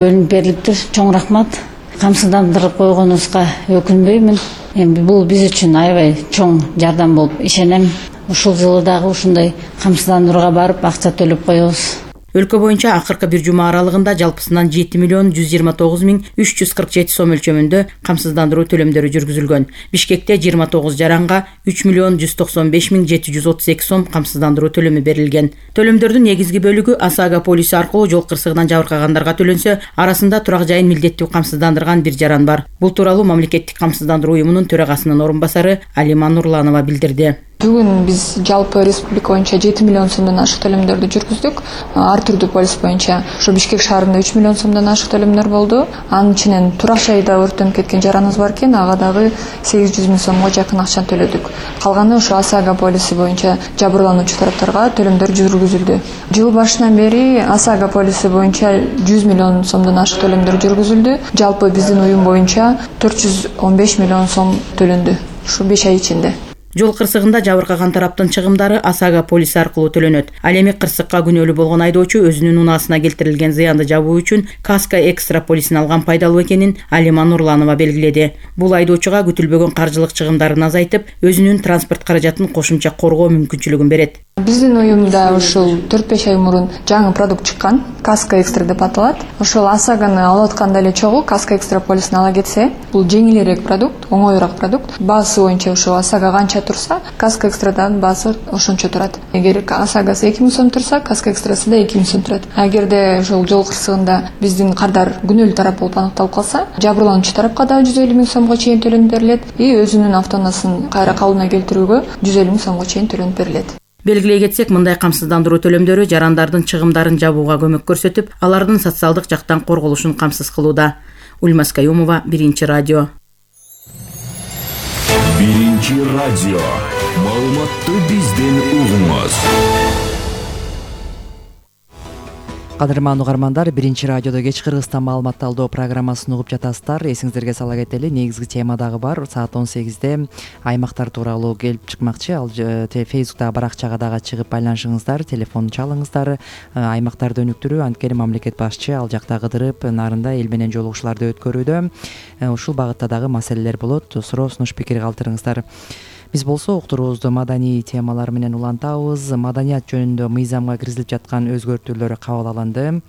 Бөлүнүп берилиптир. Чоң рахмат. Камсыздандырып койгонубузга өкүнбөймүн. Эми бул биз үчүн аябай чоң жардам болуп ишенем. Ушул жылы дагы ушундай камсыздандырууга барып акча төлөп коебуз. Өлкө боюнча акыркы бир жума аралыгында жалпысынан 7.129.347 сом өлчөмүндө камсыздандыруу төлөмдөрү жүргүзүлгөн. Бишкекте 29 жаранга 3.195.732 сом камсыздандыруу төлөмү берилген. Төлөмдөрдүн негизги бөлүгү ОСАГО полиси аркылуу жол кырсыгынан жабыркагандарга төлөнсө, арасында турак жайын милдеттүү камсыздандырган бир жаран бар. Бул тууралуу Мамлекеттик камсыздандыруу уюмунун төрагасынын орун басары Алима Нурланова билдирди. Бүгүн биз жалпы республика боюнча 7 миллион сомдон ашык төлөмдөрдү жүргүздүк. Ар түрдүү полис боюнча ушу Бишкек шаарында 3 миллион сомдон ашык төлөмдөр болду. Анын ичинен турак жайда өрттөнүп кеткен жараныбыз бар экен, ага дагы 800 миң сомго жакын акчаны төлөдүк. Калганы ушу ОСАГО полиси боюнча жабырлануучу тараптарга төлөмдөр жүргүзүлдү. Жыл башынан бери ОСАГО полиси боюнча 100 миллион сомдон ашык төлөмдөр жүргүзүлдү. Жалпы биздин уюм боюнча 415 миллион сом төлөндү ушу 5 ай ичинде. Жол кырсыгында жабыркаган тараптын чыгымдары ОСАГО полиси аркылуу төлөнөт. Ал эми кырсыкка күнөөлүү болгон айдоочу өзүнүн унаасына келтирилген зыянды жабуу үчүн Каска экстра полисин алган пайдалуу экенин Алима Нурланова белгиледи. Бул айдоочуга күтүлбөгөн каржылык чыгымдарын азайтып, өзүнүн транспорт каражатын кошумча коргоо мүмкүнчүлүгүн берет. Биздин уюмда ушул 4-5 ай мурун жаңы продукт чыккан, Каска экстра деп аталат. Ошол ОСАГОны алып атканда эле чогуу Каска экстра полисин ала кетсе, бул жеңилирээк продукт, оңоюраак продукт. Баасы боюнча ошо ОСАГО канча турса, Каска экстрадан баасы ошончо турат. Эгер ОСАГОсу 2 миң сом турса, Каска экстрасы да 2 миң сом турат. Эгерде ошол жол кырсыгында биздин кардар күнөөлүү тарап болуп аныкталып калса, жабырлануучу тарапка да 150 миң сомго чейин төлөнүп берилет и өзүнүн автоунаасын кайра калыбына келтирүүгө 150 миң сомго чейин төлөнүп берилет. Белгилей кетсек, мындай камсыздандыруу төлөмдөрү жарандардын чыгымдарын жабууга көмөк көрсөтүп, алардын социалдык жактан корголушун камсыз кылууда. Ульмас Каюмова, Биринчи радио. Биринчи радио. Маалыматты бизден угуңуз. Кадырман угармандар, Биринчи радиодо кеч Кыргызстан маалымат талдоо программасын угуп жатасыздар. Эсиңиздерге сала кетели, негизги тема дагы бар. Саат 18-де аймактар тууралуу келип чыкмакчы. Ал Facebook'тагы баракчага дагы чыгып байланышыңыздар, телефон чалыңыздар. Аймактарды өнүктүрүү, анткени мамлекет башчы ал жакта кыдырып, нарында эл менен жолугушууларды өткөрүүдө. Ушул багытта дагы маселелер болот. Суроо сунуш пикир калтырыңыздар. Биз болсо уктуруубузду маданий темалар менен улантабыз. Маданият жөнүндө мыйзамга киргизилип жаткан өзгөртүүлөр кабыл алынды.